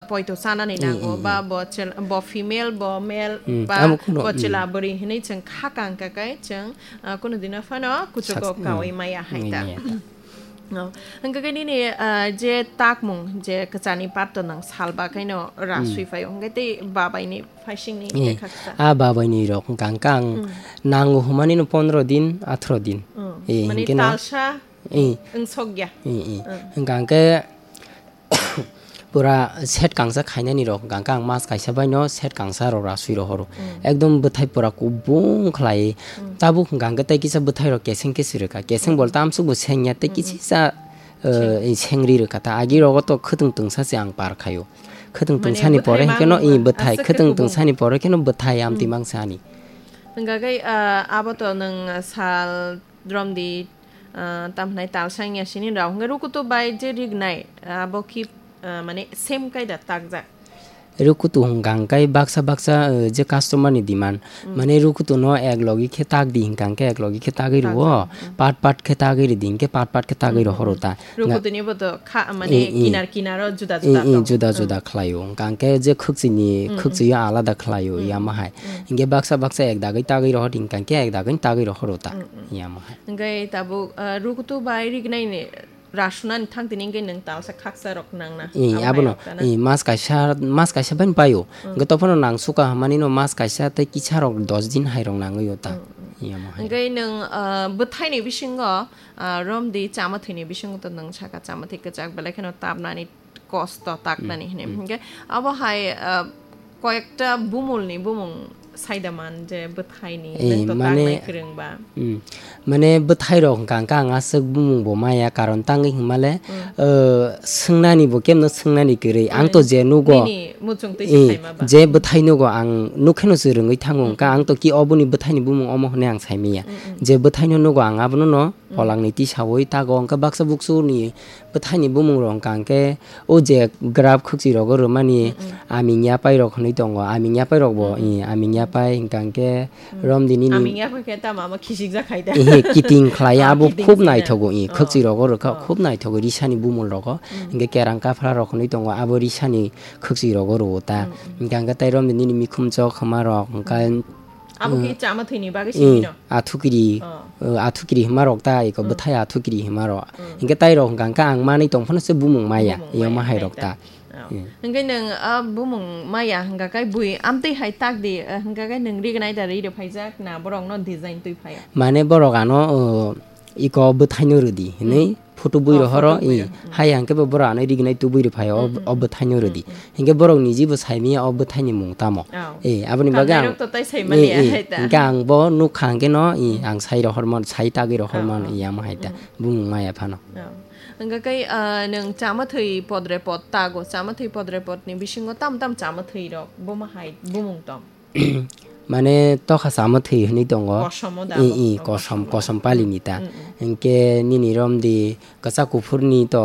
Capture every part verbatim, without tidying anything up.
poito chanani Mm, nango, mm, ba mm. bo chel-, bo female, bo male, Mm, ba amo kuno, bo mm. chwla bwrwi hinwi chwng kha kang kha kai chwng, ah, kuno dino phano kuchugo Sak-, mm. kaui maya hai ta. Maya ta. No. Hwnkhe khe nini, ah, je takmung, je kwchani patto nang salba khaino ra Mm. sui phaio, hwnkhe tei babaini phaisingni Eh, tei khaksa. A babaini rok hwnkha hwnkha ang Mm. nango hwnmani no pondro din, athro din. Mm. Eh, Mani hwnkhe no talsa Eh. wng sokya. Eh, eh. Mm. Hwnkha hwnkhe pura set kangsa khainani rok hwnkha hwnkha ang mas kaisa baino set kangsa rok ra sui rohoro. Mm. Ekdom bwthai pura kubung khlai. Mm. Tabuk hwnkha hwnkhe tei kisa bwthai rok keseng keseng rwkha. Keseng Mm. bol tamsuk bo sengya tei Mm, mm. kisisa, eh, Seng. sengri rwkha ta. Agi rogo to khwtwng twngsa se ang par khaio. Khwtwng Mane twngsani pore bwthai hwnkhe no, mang i, bwthai, aswk khe khwtwng kubung. twngsani pore khe no bwthai amtwi Mm. mang sani. Hwnkha khe, ah, abo to nwng sal romdi, ah, tamhnai talsang ya sini rok. Hwnkhe rukutu bai je rignai, abo khi, ah, mane same kaida takjak. Rukutu hwnkha hwnkhe baksa baksa, eh, je customer ni demand. Mm. Mane rukutu no ek logi khe tak di hwnkha hwnkhe ek logi khe tagwi rwo, Takjak, mm. part part khe tagwi ridi hwnkhe part part khe tagwi Mm, rohoro mm. ta. Nga- Rukutuni bo to kha, mane Eh, eh. kinar kinaro juda Eh, juda eh, tongo. juda Mm. juda khlaio. Hwnkha hwnkhe je khwkchini, Mm, mm. khwkchwio alada khlaio, Mm. yama hai. Mm. Hwnkhe baksa baksa ek dagwi tagwi rohor hwnkha hwnkhe ek dagwi tagwi rohoro ta, Mm, mm. yama hai. Hwnkhe tabuk, ah, rukutu bai rignai ni rasunani thang tini hwnkhe nwng talsa khaksa rok nangna. Eh, Abo abono, hai rok ta na? eh, mas kaisa, mas kaisa bai paio. Mm. Hwnkhe tophano nang suka hwnmani no mas kaisa tei kisa rok dos din hai rok nangwi o ta. Mm, mm. Yama hai. Hwnkhe nwng, ah, bwthaini bisingo, ah, romdi chamathwini bisingo to nwng saka chamathwi kwchak belai kheno tapnani kosto taknani Mm, hwnwi. mm. Hwnkhe abo hai, ah, koyekta bumulni bumung saida man je bwthaini Eh, nwng to mane taknai kwrwng ba. Mm. Mane bwthai rok hwnkha hwnkha ang aswk bumung bo maya karon tangwi hwnmale, Mm. ah, swngnani bo kemno swngnani kwrwi. Ang to Mm. je nugo, Nini muchung twi eh, se saima ba. je bwthai nugo ang nukheno se rwngwi thango hwnkha Mm, mm. ang to ki oboni bwthaini bumung omo hwnwi ang saimanya. Mm, mm. Je bwthaino nugo ang abono no Mm. Pholangni tisaui tago hwnkhe baksa buksuni bwthaini bumung rok hwnkha hwnkhe o je graph khwkchwi rogo rwmani Mm, mm. aming yapai rok hwnwi tongo, aming yapai rok bo, Mm, mm. i, aming yapai hwnkha hwnkhe Mm. romdi nini Aming yapai khe tamo ama khichik jak khai da. Ehe, kiting khlai Ah, abo kiting khub khai da. naithogo, i, Oh. khwkchwi rogo rwkha Oh. khub naithogo risani bumul rogo. Mm. Hwnkhe kerang kaphra rok hwnwi tongo, abo risani khwkchwi rogo rwo ta. Mm, mm. Hwnkha hwnkhe tai romdi nini mikhum chok hwma rok hwnkha Mm. Abo khe Mm. chama thwini bagwi Mm, simi no? Athukiri, Oh. uh, athukiri hima rok ta, eko Mm. bwthai athukiri hima rok. Mm. Hingke tai rok hingka hingka ang manwi tong phano se bumung maya, Bumung iyo maya, mahai rok ta. Oh. Mm. Hingke nwng, ah, bumung maya hingka kai bui amtwi hai tak di, ah, hingka kai nwng rignai da ri rw phaijak na borok no design twi phai? Mane borok ano, uh, iko bwthai no rwdi hinwi Mm. photo bui Oh, rohoro, photo bui i, rohoro. Mm. Hai hingke bo borok ano rignai tubui rw phai o, Mm, mm, o bwthai no mm, rwdi. Mm. Hingke borok niji bo sai manya o bwthai ni mung tamo. Oh. Eh, aboni bagwi ang, Kannairok to tai sai eh, maliya eh, hai ta. Hingke ang bo nukha hingke no, i, Mm. ang sai rohor man, sai tagwi rohor Oh, man, oh. i, amo hai ta. Mm. Bumung maya phano. Oh. Hingke kai, ah, nwng chama thwi podre pod tago, chama thwi podre pod ni bisingo tam tam chama thwi rok, buma hai, bumung tong. Mane tokha chama thwi hinwi tongo. Kosomo da I, bo, i, oh, kosom, kosom. Kosom pali ni ta. Mm, mm. Hingke nini romdi kwchak kuphur ni to,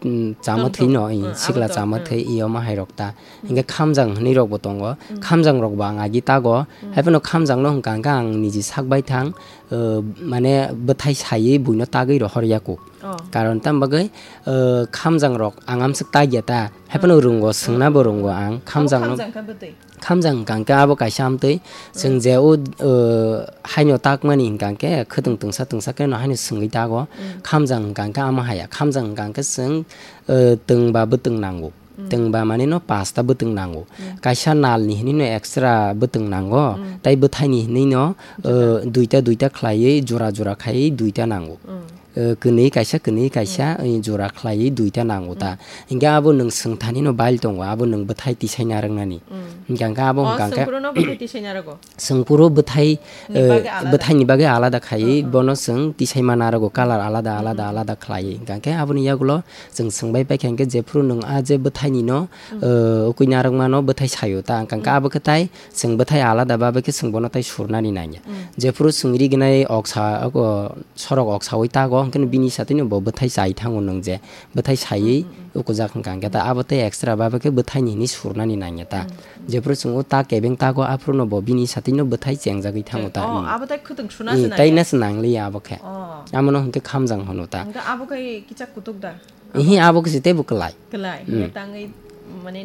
mm, chama Tom thwi tom. No, i, Mm, sikla abo to, chama mm. Thwi, i, omo hai rok ta. Mm. Hingke khamjang hinwi rok bo tongo. Mm. Khamjang rok bo ang agi tago. Mm. Hai phano khamjang no hingka hingka ang niji sak bai thang, uh, mane bwthai saiwi buino tagwi rohor yaku. Oh. Karon tam bagwi, uh, khamjang rok ang amswk tagya ta. Hai phano Mm. Rwngo, swngna Mm. Bo rwngo ang. Abo khamjang no khamjang kha bwtwi? Khamjang hingka hingke abo kaisa amtwi. Chwng Mm. je o, uh, haino takmani hingka hingke khwtwng tungsa tungsa khe no haino swngwi tago. Mm. Khamjang hingka hingke amo haya. Khamjang hingka hingke chwng, uh, twng ba bwtwng nango. Mm. Twng ba mani no pasta bwtwng nango. Mm. Kaisa nal ni hinwi no extra bwtwng nango. Mm. Tai bwthai ni hinwi no, Juda. Uh, duita duita khlaiwi jora jora khaiwi duita nango. Mm. Eh, kwnwi kaisa, kwnwi kaisa, Mm. eh, jora khlaiwi duita nango ta. Mm. Hingke abo nwng swngthani no bail tongo, abo nwng bwthai tisai narwknani. Mm. Hingke hingke abo Oh, hingka hingke swngphuru no bwthai tisai narwgo? Swngphuru bwthai, Ni eh, bagwi alada. Bwthai ni bagwi alada khaiwi Mm, mm. Bono chwng tisai ma narwgo, colour alada, alada, Mm, mm. Alada khlaiwi. Hingka hingke aboni yagulo chwng swngbai paikha hingke jephuru nwng a je bwthai ni no, Mm. Eh, ukui narwkma no bwthai sayo ta, hingka hingke Mm. Abo khe tai chwng bwthai alada ba, abo khe chwng bono tai surnani nangya. Mm. Jephuru chwng rignai oksa, oko, sorok oksaui tago, hingke no bini satwi no bo bwthai chai thango nwng je, bwthai saiwi Mm, mm, mm. Ukujak hingka hingke ta, Mm. Abo tei extra ba khe bwthai ni hinwi surnani nangya ta. Mm, mm. Jephuru chwng o ta kebeng tago, aphuru no bo bini satwi no bwthai chengjagwi thango ta. Oh, mm. Abo tai khwtwng suna Mm, se tai nangya? Na se nangliya abo khe. Oh. Amo no hingke khamjang hwno ta. Hingke abo khe kichak kutuk da? Ihi, abo khe se teibo kwlai. Kwlai, Mm. Hingke tangwi mane Ang